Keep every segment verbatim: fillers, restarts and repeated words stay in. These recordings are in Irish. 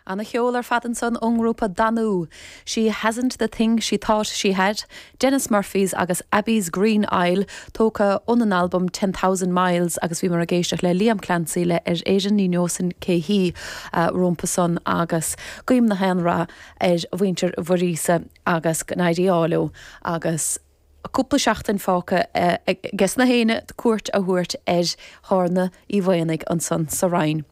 Ana cheol ar fad ansan ón ngrúpa Danú. She hasn't the thing she thought she had, Dennis Murphys agus Abbey's Green Isle tógtha ón albam Ten Thousand Miles agus bhíomar ag éisteacht le Liam Clancy le ar Éirinn ní neosfainn cé hí uh, rompu san agus guím na haon rath ar mhuintir Mhuiríosa agus go n-éirí leo agus cúpla seachtain fágtha ages na héinne cuairt a thabhairt ar Thorna Uí Mhaonaigh ansan sa Rinn.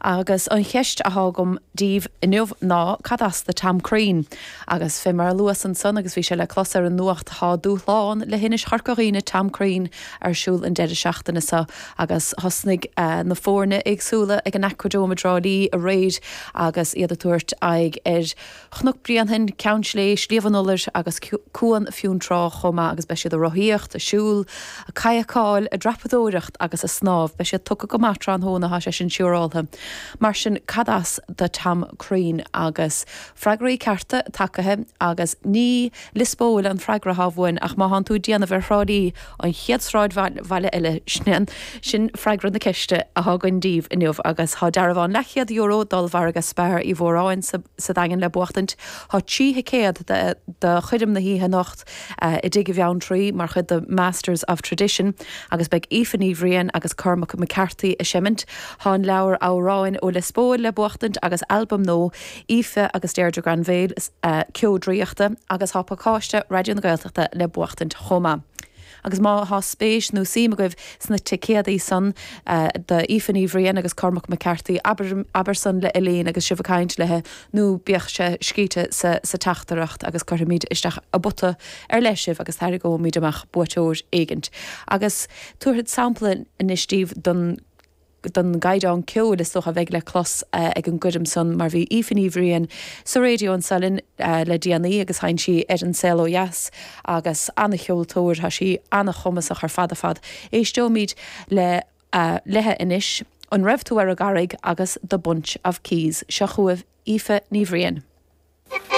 Agus an cheist atá agam daoibh inniu ná cad as do Tom Crean. Agus fé mar a luas ansan agus bhí sé le clos ar an nuacht tá dúshlán le hInis Chorca Dhuibhne Tom Crean ar siúl an deireadh seachtaine seo agus thosnaigh uh, na foirne éagsúla ag an Aquadome i dTrá Lí aréir agus iad ag tabhairt aghaidh ar Chnoc Bréanainn, Ceann Sléibhe, Sliabh an Iolair agus Cuan Fionntrá chomh maith agus beidh siad ag rothaíocht, ag siúl, ag cadhcáil, ag dreapadóireacht agus ag snámh, beidh siad tugtha go maith tráthnóna tá sé sin siúráltha. Mar sin cad as do Tom Crean agus freagraí cearta tagtha agus ní Liospóil an freagra atá uainn ach má thánn tú ag déanamh ar Thrá Lí an chéad sráidbhaile eile sin sin freagra na ceiste atá againn daoibh inniu agus tá dearbhán leathchéad euro d'ollmhargadh Spar Uí Mhóráin sa, sa Daingean le buachtaint Tá trí thicéad do choirm na hoíche anocht uh, i dTigh Bheanntraí mar chuid de Masters of Tradition agus beidh Aoife Ní Bhriain agus Cormac McCarthy ag seimint Tá an leabhar amhráin ó Liospóil le buachtaint agus albam nua Aoife agus Deirdre Granville uh, Ceo Draíochta agus tá pacáiste Raidió na Gaeltachta le buachtaint chomh maith. Agus má tá spéis nó suim agaibh sna ticéadaí san uh, d'Aoife Ní Bhriain agus Cormac McCarthy aber, aber san le Elaine agus sibh ag caint léi nó bíodh sé scríte sa, sa teachtaireacht agus cuirfimid isteach i bpota ar leith sibh agus tarraingeoimid amach buaiteoir éigint. Agus tabharfad sampla anois daoibh don don gcaighdeán ceoil is dócha a bheidh le clos uh, ag an gcoirm san mar bhí Aoife Ní Bhriain sa raidió anseo linn uh, le déanaí agus sheinn sí ar an Saol Ó Dheas agus an-cheoltóir tá sí an-chumasach ar fad a fad. Éisteoimid le uh, léi anois an raibh tú ar an gcarraig agus The Bunch of Keys seo chugaibh Aoife Ní Bhriain.